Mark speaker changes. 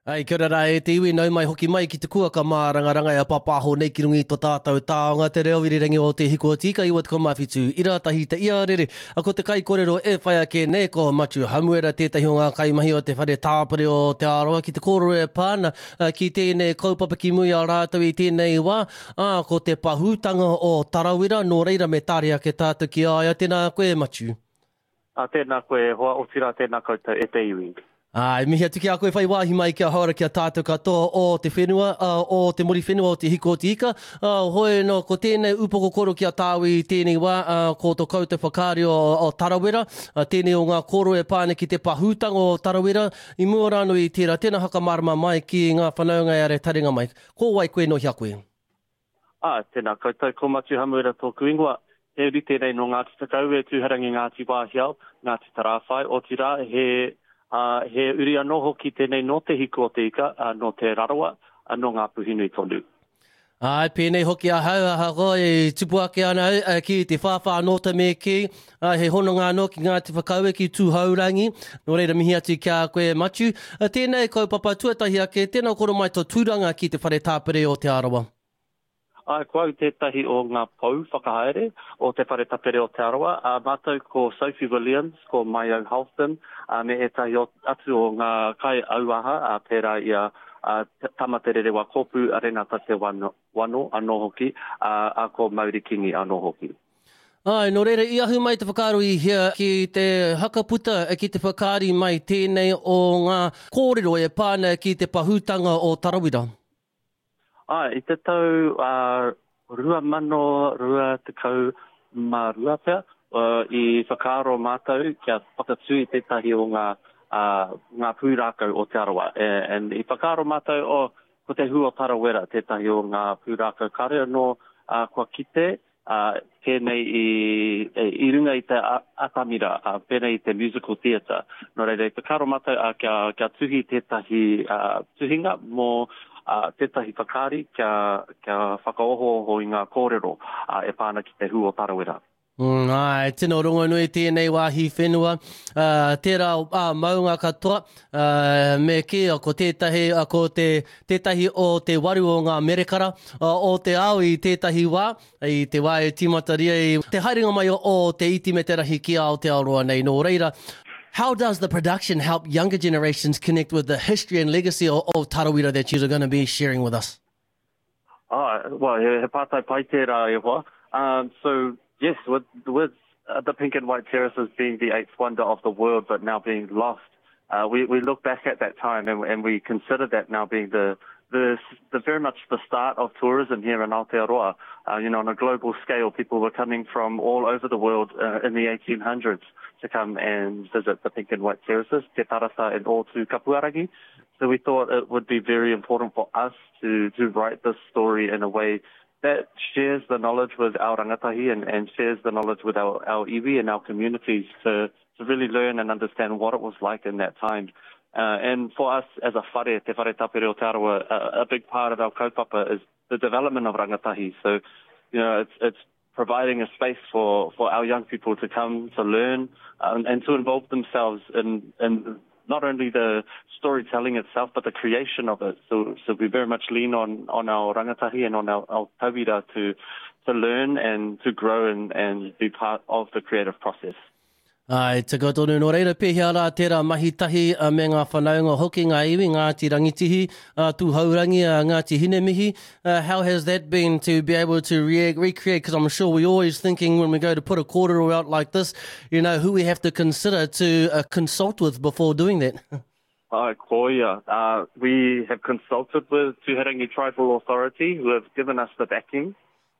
Speaker 1: Ai, kia ora rā e te iwi, nau mai hoki mai ki te kuaka mārangaranga e papaho nei ki runga i to tātou taonga te reo irirangi o Te Hiku o Tika 97 ira tahi te iarere. A ko te kaikorero e whai ake nei ko Matiu Hamuera tētahi o ngā kaimahi o te whare tāpere o Te Arawa ki te kōrero e pā ana ki tēnei kaupapa ki mua i a rātou i tēnei wā, ā, ko te pahūtanga o Tarawera, nō reira me tare ake tātou ki a ia. Tēnā koe Matiu.
Speaker 2: Ā, tēnā koe e hoa, otirā tēnā koutou e te iwi.
Speaker 1: Ā, e mihi atu ki a koe whai wāhi mai kia hora ki a tātou katoa o te whenua, ā, o te Muriwhenua o Te Hiku o Te Ika. Ā, hoi anō, ko tēnei upoko koro ki a tāu i tēnei wā, ā, ko to koutou whakaari o, o Tarawera, ā, tēnei o ngā kōrero e pā ana ki te pahūtanga o Tarawera, i mua rānō i tērā, tēnā whakamārama mai ki ngā whanaunga e are taringa mai. Ko wai koe nō hea koe?
Speaker 2: Ā, tēnā koutou, ko Matiu Hamuera tōku ingoa. He uri tēnei nō Ngāti Whakaue, Tūhourangi, Ngāti Wāhiao, Ngāti Tarāwhai, otirā, he, ā, he uri anō hoki tēnei nō Te Hiku o Te Ika, ā, nō Te Rarawa, ā, nō Ngāpuhi-nui tonu.
Speaker 1: Āe, pēnei hoki ahau, ahakoa e tupu ake ana au ki te whāwhā anō te me kī, ā, he hononga anō ki Ngāti Whakaue, ki Tūhourangi, nō reira mihi atu ki a koe Matiu. Tēnei kaupapa tuatahi ake, tēnā koro mai tō tūranga ki te Whare Tāpere o Te Arawa.
Speaker 2: Āe, ko au tētahi o ngā pou whakahaere o Te Whare Tapere o Te Arawa, ā, mātou ko Sophie Williams, ko Maiau Halston, ā, me ētahi atu o ngā kai auaha, ā, pērā i a, ā, Tama Te Rerewa Kōpū, a Renata Te Wano anō hoki, ā, ā, ko Mauri Kingi anō hoki.
Speaker 1: Āe, nō reira, i ahu mai te whakaaro i hea ki te hakaputa, ki te whakaari mai tēnei o ngā kōrero e pā ana ki te pahūtanga o Tarawera?
Speaker 2: Āe, i te tau 2022 pea, i whakaaro mātou kia whakatū i tētahi o ngā, ngā pūrākau o Te Arawa. And i whakaaro mātou, oh, ko te hū o Tarawera tētahi o ngā pūrākau kāre anō kua kite, ā, pēnei i, i runga i te atamira, ā, pēnei i te musical theatre. Nō reira, i whakaaro mātou, ā, kia, kia tuhi tētahi, ā, tuhinga mō, ā, tētahi whakaari kia, kia whakaohooho i ngā kōrero, ā, e pā ana ki te hū o Tarawera.
Speaker 1: Mm, āe, tino rongonui tēnei wāhi whenua, ā, tērā, ā, maunga katoa, ā, me kī, ko tētahi, ko te, tētahi o te waru o ngā merekara o te ao i tētahi wā, i te wā e tīmataria i te haerenga mai o te iti me te rahi ki Aotearoa nei. Nō reira, how does the production help younger generations connect with the history and legacy of, of Tarawera that you're going to be sharing with us?
Speaker 2: Oh, well, he, he pātai pai tērā e hoa. Um, so, yes, with, with uh, the pink and white terraces being the eighth wonder of the world, but now being lost, uh, we, we look back at that time and, and we consider that now being the, the, the very much the start of tourism here in Aotearoa. Uh, you know, on a global scale, people were coming from all over the world uh, in the 1800s to come and visit the pink and white terraces, Te Tarasa and Ōtū Kapuarangi. So we thought it would be very important for us to, to write this story in a way that shares the knowledge with our rangatahi and, and shares the knowledge with our, our iwi and our communities to, to really learn and understand what it was like in that time. Uh, and for us as a whare, Te Whare Tapere o Te Arawa, a, a big part of our kaupapa is the development of rangatahi. So, you know, it's, it's providing a space for, for our young people to come to learn um, and to involve themselves in, in not only the storytelling itself, but the creation of it. So, so we very much lean on, on our rangatahi and on our, our tauira to, to learn and to grow and, and be part of the creative process.
Speaker 1: Āe, tika tonu. Nō reira, pēhea rā tērā mahi tahi me ngā whanaunga hoki, ngā iwi, Ngāti Rangitihi, Tūhourangi, Ngāti Hinemihi. How has that been to be able to re recreate, because I'm sure we're always thinking when we go to put a kōrero out like this, you know, who we have to consider to uh, consult with before doing that.
Speaker 2: Āe, koia. Uh, we have consulted with Tūhourangi Tribal Authority, who have given us the backing.